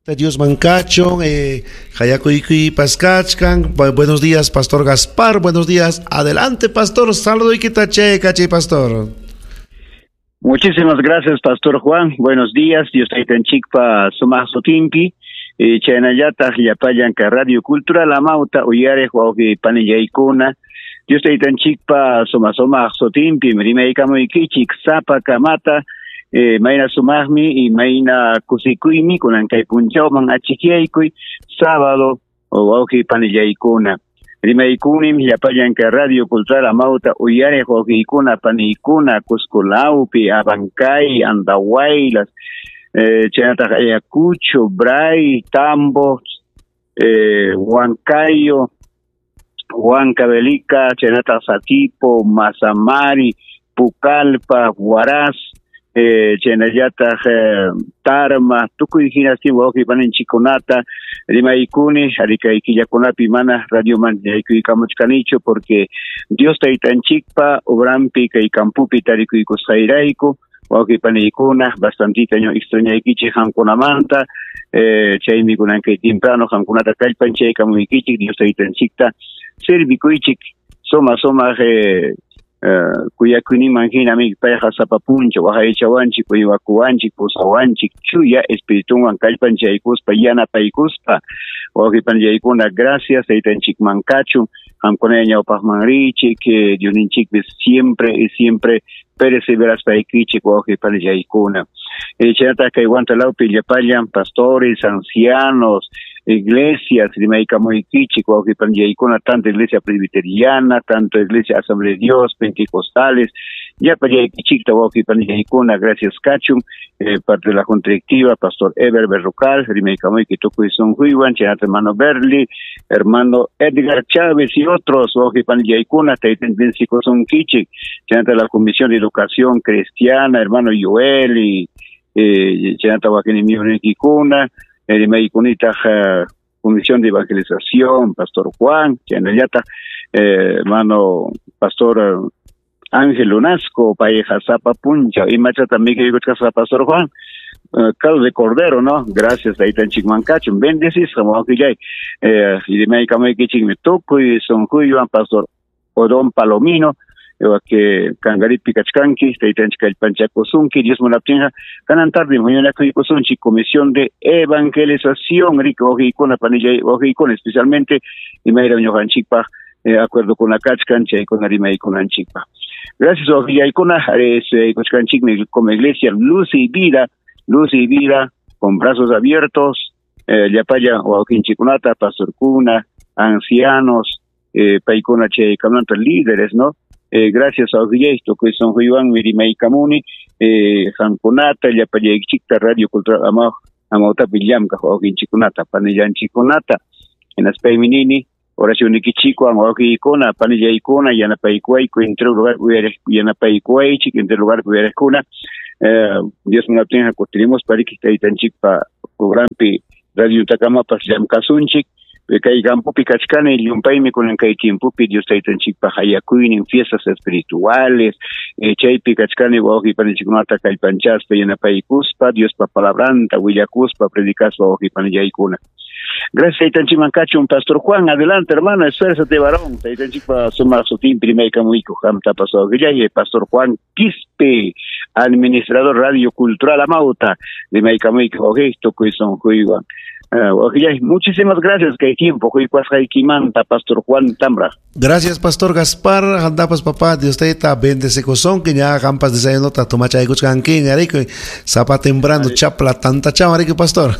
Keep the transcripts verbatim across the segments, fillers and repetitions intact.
Dios mancacho, eh, Hayakuykuy Pascachkan. Buenos días, Pastor Gaspar. Buenos días. Adelante, Pastor. Saludo y quitache, caché, Pastor. Muchísimas gracias, Pastor Juan. Buenos días. Dios taytanchikpa sumaq sutinpi. Eh, chaynallataq llapallanka Radio Cultural Amauta uyariq wawqi panillaykuna. Dios taytanchikpa sumaq sumaq sutinpi rimaykamuykichik sapa kamata. Eh, mayna sumaqmi y mayna kusikuymi kunan kay punchawman achikyaykuy sábado wawqi panillaykuna. Rimaykunim llapallanka Radio Cultural Amauta uyariq wawqiykuna paniykuna Cusco lawpi, Abancay, Andahuaylas, eh, chaynataq Ayacucho, Bray, Tambo, eh, Huancayo, Huancavelica, chaynataq Satipo, Mazamari, Pucallpa, Huaraz, eh, chaynallataq eh, Tarma, tukuy hinastin wawqi paninchikkunata rimaykuni arikay killakunapi mana radioman yaykuykamuchkanichu porque Dios taytanchikpa obrampi kay kampupi tarikuykusqayrayku wawqi paniykuna bastantita ño extrañaykichik qamkunamanta eh, chaymi kunan kay temprano qamkunata kallpanchaykamuykichik Dios taytanchikta servikuychik suma sumaq eh, Uh, kuyakuyninman hinami payqa sapa punchaw waqaychawanchik uywakuwanchik pusawanchik chuya espiritunwan kallpanchaykuspa yanapaykuspa wawqi panillaykuna gracias taytanchikman kachun qamkuna ñawpaqman richik eh, Diosninchikpis siempre y siempre perseveraspaykichik wawqi panillaykuna eh, chaynataq kay Huanta lawpi llapallan pastores, ancianos, iglesias, rimaykamuykichik wawqi panillaykuna, tanto iglesia presbiteriana, tanto iglesia Asamblea de Dios, pentecostales, llapallaykichikta wawqi panillaykuna, gracias kachun, eh, parte de la junta directiva, Pastor Eber Berrocal, rimaykamuyki tukuy sunquywan, chaynata hermano Berli, hermano Edgar Chávez y otros wawqi panillaykuna, taytan bendecikusunkichik, chaynata la Comisión de Educación Cristiana, hermano Joel y eh, chaynata wakinimiyunikikuna, rimaykunitaq eh, Comisión de Evangelización, Pastor Juan, chaynallataq eh, hermano Pastor eh, Ángel Lunasco, payqa sapa punchaw, imachata mikuykuchkasqa Pastor Juan, uh, caldo de cordero, ¿no? Gracias, taytanchikman kachun, bendecisqa wawqillay, eh, rimaykamaykichikmi tukuy sunquywan Pastor Odón Palomino, que Cangaripi kachkanki, taytanchik kallpanchakusunki, Dios munaptinqa, kanan tarde huñunakuykusunchik Comisión de Evangelización, rico wawqiykuna panillay wawqiykuna, especialmente imayra ñuqanchikpaq eh, acuerdo con la kachkan chaykuna rimaykunanchikpaq. Gracias wawqillaykuna, kuchkanchikmi como iglesia luz y vida, luz y vida, con brazos abiertos, eh, llapalla wawqinchikkunata, pastorkuna, ancianos, eh, paykuna chaykamanta líderes, ¿no? Eh, gracias a tukuy sunquywanmi rimaykamuni eh, qamkunata llapallaykichikta Radio Cultural Amau Amautapi llamkaq wawqinchikkunata panillanchikkunata hinaspaymi nini oracionikichikwan wawqiykuna panillaykuna yanapaykuwayku entre lugar yanapaykuwaychik entre lugar uyariqkuna eh, Dios munaptinqa kutiremos pariki taytanchikpa programpi radio takamapas llamkasunchik kay campopi kachkani llumpaymi kunan kay tiempopi Dios taytanchikpa hayakuynin fiestas espirituales eh, chaypi kachkani wawqi paninchikkunata kallpanchaspa yanapaykuspa Diospa palabranta willakuspa predicaspa wawqi panillaykuna. Gracias taytanchikman kachun Pastor Juan, adelante hermano, esfuérzate varón, taytanchikpa sumaq sutinpi rimaykamuyku qamta pastor wawqillay, Pastor Juan Quispe, administrador Radio Cultural Amauta, rimaykamuyku wawqi tukuy sunquywan. Uh, muchísimas gracias, que hay tiempo. Pastor Juan Tambra. Gracias, Pastor Gaspar. Andapas, papá, Dios te bendece cosón, que ya campas desayuno, toma chaykuchkankiña, rico, zapa temprano, chapla, tanta chama, rico, pastor.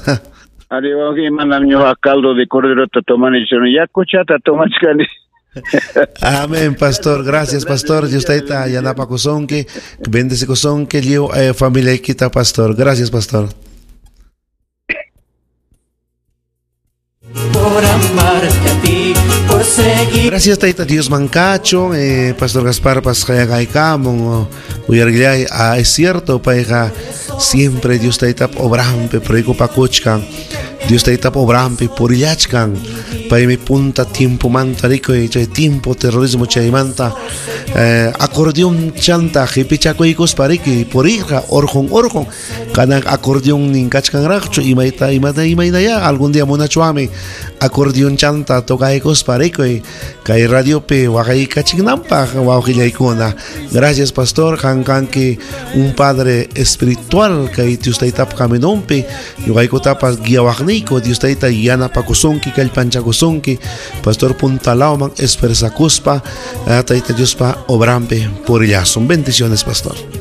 Arriba, manam caldo de cordero, tomani, ya cochata, tomachkani. Amén, pastor. Gracias, pastor. Dios te yanapa cosón, que bendece cosón, que llevo eh, familia quita, pastor. Gracias, pastor. Por amarte a ti, por seguir. Gracias, Taita Dios Mancacho, eh, Pastor Gaspar Pascayagaycamon, Uyarguillay, ah, es cierto, paija, siempre Dios Taita obrampe, preocupa cochca, Dios taytapa obrampi purillachkan. Paymi punta tiempomanta rikuy chay tiempo terrorismo chaymanta eh, acordeón chanta qipichakuykuspa riki purirqa orqun orqun kanan acordeón nin kachkanraqchu imayta imata imaynaya algún día munachwami acordeón chanta tocaykuspa rikuy kay radiopi waqaykachinanpaq wawqillaykuna. Gracias, pastor. Qam kanki un padre espiritual kay Dios taytapa caminonpi ñuqaykutapas guiawaqniyku. Dios tayta yanapakusunki, kallpanchakusunki, pastor, puntalawman esforzakuspa tayta Diospa obrampi purillasun. Bendiciones, pastor.